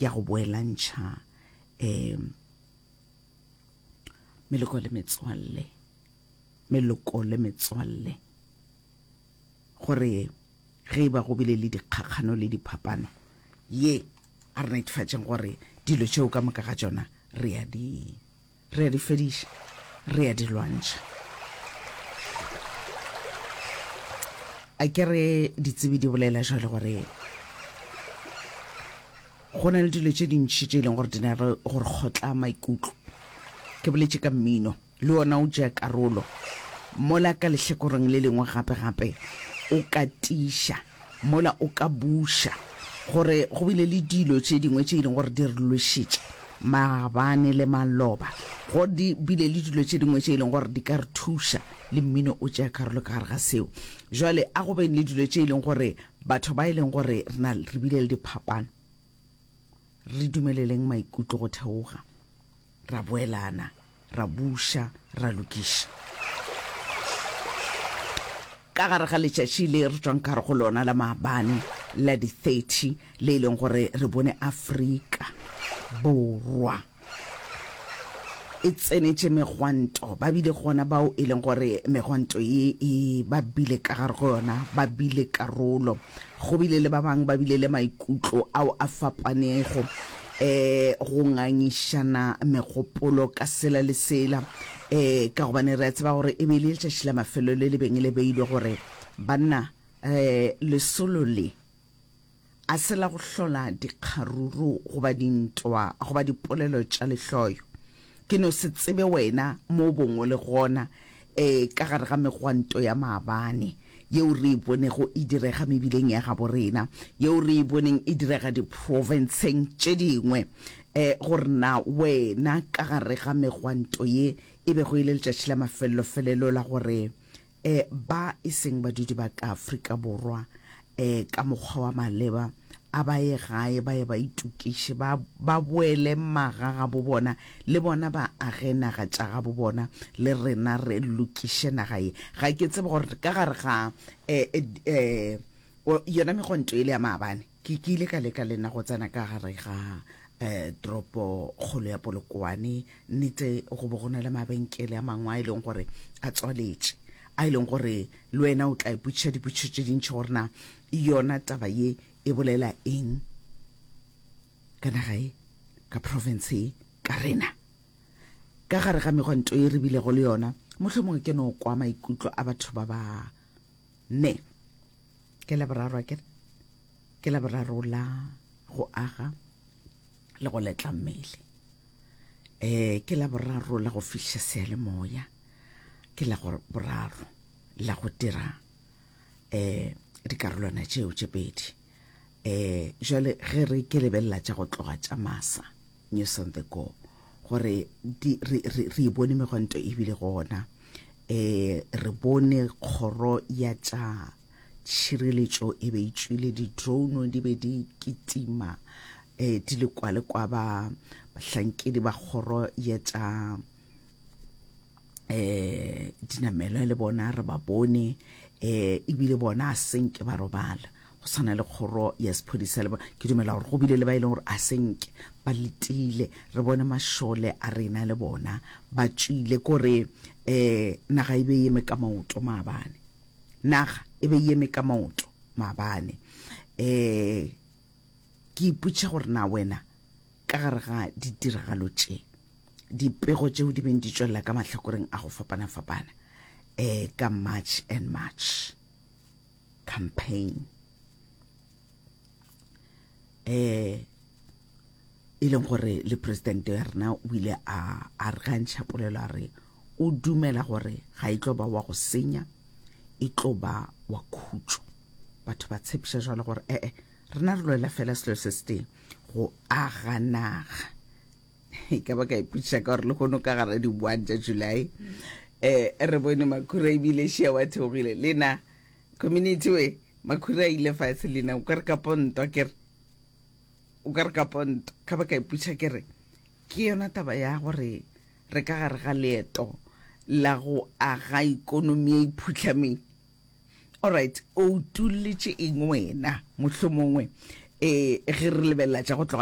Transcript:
ya go boelantšha um meloko le metswalle, meloko le metswalle, gore ge e ba go bile le dikgakgano le diphapano, ye a re netefatšeng gore dilo tšeo ka moka ga tšona re a di re a di fediša, re a di lwantšha. A ke re ditsebi di bolela jwale gore go na le dilo tše dintši tše e leng gore di na le gore kgotla maikutlo. Ke boletše ka mmino, le wona o tšea karolo. Mola ka lehlakoreng le lengwe gape-gape o ka tiiša, mola o ka buša, gore go bile le dilo tše dingwe tše e leng gore di re lwešitše maabane le maloba, go di bile le dilo tše dingwe tše e leng gore di ka re thuša, le mmino o tšea karolo ka gare ga seo. Jwale a go beng le dilo tše e leng gore batho ba e leng gore re na re bile le diphapano, re dumeleleng maikutlo go theoga, ra boelana, ra buša, ra lokiša. Ka gare ga letšatši le re tšwang ka gare go lona la maabane la di 30 le e leng gore re bone Afrika Borwa e tsenetše megwanto, ba bile gona bao e leng gore megwanto ye e ba bile ka gare go yona, ba bile karolo. Go bile le ba bangwe ba bile le maikutlo ao a fapanego, um go ngangišana megopolo ka sela le sela, um ka gobane re a tseba gore e be e le letšatši la mafelelo le le beng le beilwe gore banna um lesolo le a se la go hlola dikgaruru goba dintwa goba dipolelo tša lehloyo. Ke no se tsebe wena mo o bong o le gona e ka gare ga megwanto ya maabane yeo re e bonego e direga mebileng ya gabo rena, yeo re e boneng e direga diprofenseng tše dingwe, e gore na wena ka gare ga megwanto ye e bego e le letšatši la mafelelo-felelo la gore E, ba e seng badudi ba ka Afrika Borwa, e, ka mokgwa wa maleba, a ba ye gae ba ye ba itokiše, ba, ba boele maga gabo bona, le bona ba age naga tša gabo bona, le rena re lokiše naga ye. Ga ke tsebe gore ka gare ga, e, e, e, yona megwanto ele ya maabane, Ke ke ile ka leka le nna go tsena ka gare ga um toropo kgolo ya Polokwane. Nnete go bo go na le mabenkele a mangwe a e leng gore a tswaletše, a e leng gore le wena o tla ipotšiša dipotšišo tše dintši gore na yona taba ye e bolela eng ka naga ye, ka province ye, ka rena. Ka gare ga megwanto ye re bilego le yona, mohlomongwe ke no kwa maikutlo a batho ba ba ne. Ke Laboraro, akere? Ke Laboraro la go aga le go letla mmele. Eh, ke Laboraro la go fihla seyalemoya. Ke la go boraro la go dira eh dikarolwana tšeo tše pedi. Eh, jwale ge re ke lebelela tša go tloga tša masa News on the Go gore di re re re e bone megwanto e bile gona. Eh, re bone kgoro ya tša tšhireletšo e be e tšwile, di-drone di be di kitima eh, di le kwa le kwa ba bahlankedi ba kgoro ya tša eh dinamelwa le bona re ba bone eh ebile bona a senke ba robala go swana le kgoro ya sephodisa le bona ke dumela gore go bile le ba e leng gore a senke ba letile re bone mašole a rena le bona ba tšwile kore eh naga e be e eme ka maoto maabane Naga e be e eme ka maoto maabane. Um ke ipotšiša gore na wena ka gare ga ditiragalo tše, dipego tšeo di beng di tšwelela ka mahlakoreng a go fapana-fapana um ka March and March campaign um e leng gore le presidente ya rena o ile a a re gantšha polelo a re o dumela gore ga e tlo ba wa go senya e tlo ba wa khutšo batho ba tshepiša jalo gore ee rena re lwela fela selo se se tee go aga naga e ka ba ka ipotšiša ka gore le kgono ka gara di-one tša july um re bone makhura ebile šia wa theogile le na community we makhura a ile fatshe le na o ka re ka ponto kere O ka re ka ponto, ka ba ka ipotšiša ke re, ke yona taba ya gore re ka gare ga leeto la go aga ikonomi e iphuhlameng? Alright, o utolletše eng wena mohlomongwe e ge re lebelela tša go tloga?